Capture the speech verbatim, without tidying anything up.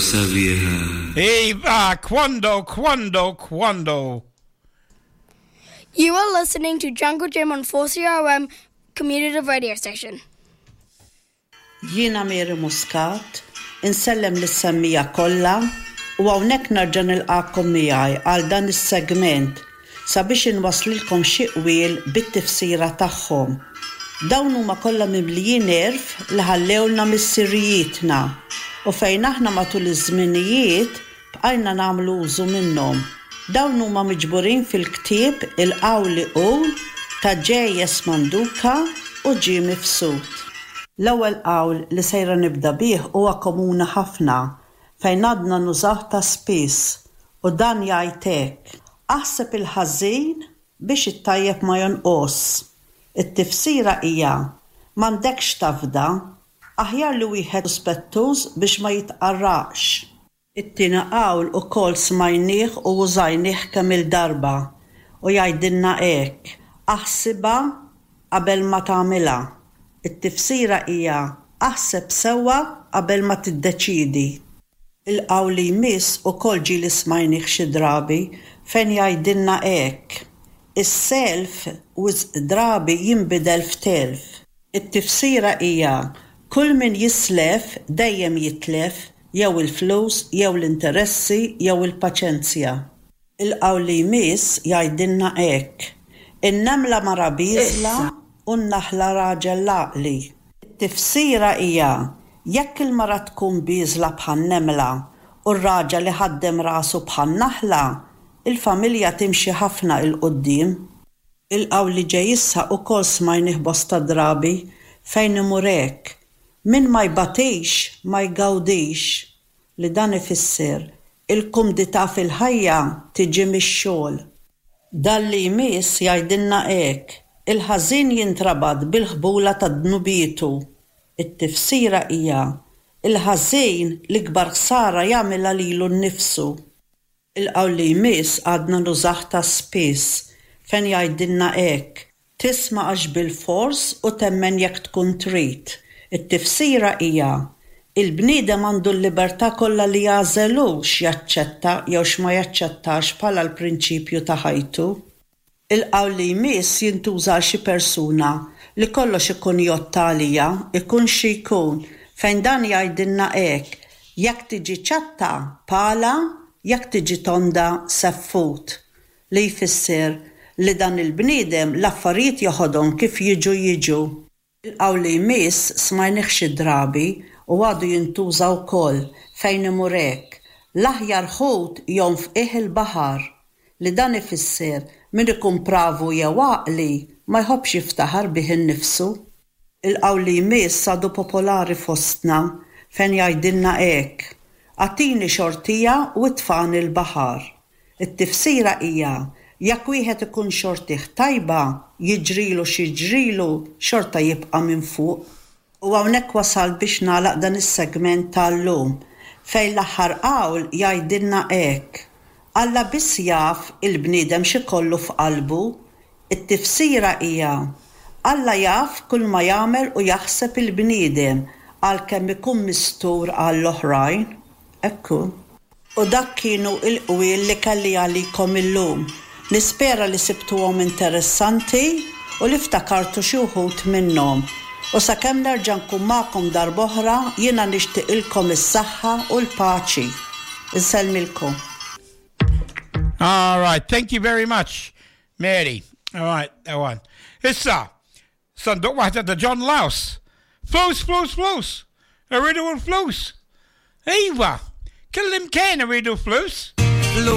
Sabiħa. Iva, quando, quando, quando. You are listening to Jungle Jim on four C R M Community Radio Station. Jiena Mary Muscat, insellem lis-semmiegħa kollha u hawnhekk nerġa' nilqakom miegħi għal dan is-segment sabiex inwaslilkom xi qwiel bit-tifsira tagħhom. Dawn huma kollha mimlijin għerf li ħallewlna missirijietna u fejn aħna matul iż-żminijiet bqajna nagħmlu użu minnhom. Dawn huma miġburin fil-ktieb Il-Qawli Qul ta' J S. Manduka u Ġie Mifsud. L-ewwel qawl li sejra nibda bih huwa komuni ħafna fejn għadna nużaw ta' spiss u dan jgħid hekk: Aħseb il-ħażin biex it-tajjeb ma jonqos. It-tifsira hija m'għandekx tafda, aħjar li wieħed suspettuż biex ma jitqarraqx. It-tieni qawl ukoll smajnieh u użajnieh kemm il-darba u jgħidilna hekk: Aħsibha qabel ma tagħmilha. It-tifsira hija aħseb sewwa qabel ma tiddeċidi. Il-qawl li jmiss ukoll ġieli smajnieh xi drabi fejn jgħidilna hekk: Is-self wisq drabi jinbidel f'telf. It-tifsira hija kull min jislef dejjem jitlef jew il-flus, jew l-interessi, jew il-paċenzja. Il-qawl li jmiss jgħidilna hekk: In-nemla mara bieżla u n-naħla raġel għaqli. It-tifsira hija jekk il-mara tkun bieżla bħan-nemla u r-raġel iħaddem rasu bħan-naħla, il-familja timxi ħafna 'l quddiem. Il-qawl li ġej issa ukoll smajnih bosta drabi fejn imur hekk: Min ma jbatix ma jgawdix, li dan ifisser il-kumdità fil-ħajja tiġi mix-xogħol. Dan li jmiss jgħidilna hekk: Il-ħażin jintrabat bil-ħbula ta' dnubietu. It-tifsira hija il-ħażin l-ikbar ħsara jagħmilha lilu nnifsu. Il-qawl li jmiss għadna nużah ta' spiss fejn jgħidilna hekk: Tisma' għax bil-fors u temmen jekk tkun trid. It-tifsira hija il-bniedem għandu l-libertà kollha li jagħżel x'jaċċetta jew x'ma jaċċettax bħala l-prinċipju ta' ħajtu. Il-qawl li jmiss jintuża għal xi persuna li kollox ikun jgħodd għaliha, ikun xi jkun, fejn dan jgħidilna hekk: Jekk tiġi ċatta, pala, jekk tiġi tonda, seffut. Li jfisser li dan il-bniedem l-affarijiet joħodhom kif jiġu jiġu. Il-qawl li jmiss smajnih xi drabi u għadu jintuża wkoll fejn imur hekk: L-aħjar ħut jgħum f'qiegħ il-baħar, li dan ifisser min ikun pravu jew għaqli ma jħobbx jiftaħar bih innifsu. Il-qawl li jmiss għadu popolari fostna fejn jgħidilna hekk: Agħtini xortija u itfagħni l-baħar. It-tifsira hija jekk wieħed ikun xortih tajba, jiġrilu x'jiġrilu xorta jibqa' minn fuq. U hawnhekk wasal biex nagħlaq dan is-segment tal-lum fejn l-aħħar qawl jgħidilna hekk: Alla biss jaf il-bniedem x'ikollu f'qalbu. It-tifsira hija Alla jaf kull ma jagħmel u jaħseb il-bniedem għalkemm ikun mistur għall-oħrajn. Ekku. U dak kienu il-qwiel li kelli għalikom illum. Nispera li sibtuhom interessanti u li ftakartu xi wħud minnhom. U sakemm nerġa' nkun magħkom darb'oħra, jiena nixtieqilkom is-saħħa u l-paċi. Insellmilkom. All right, thank you very much, Mary. All right, that one. Issa, sanduq waħda ta' John Laus. Flus, flus, flus. Irridu l-flus. Iva, kullimkien irridu flus. Flus.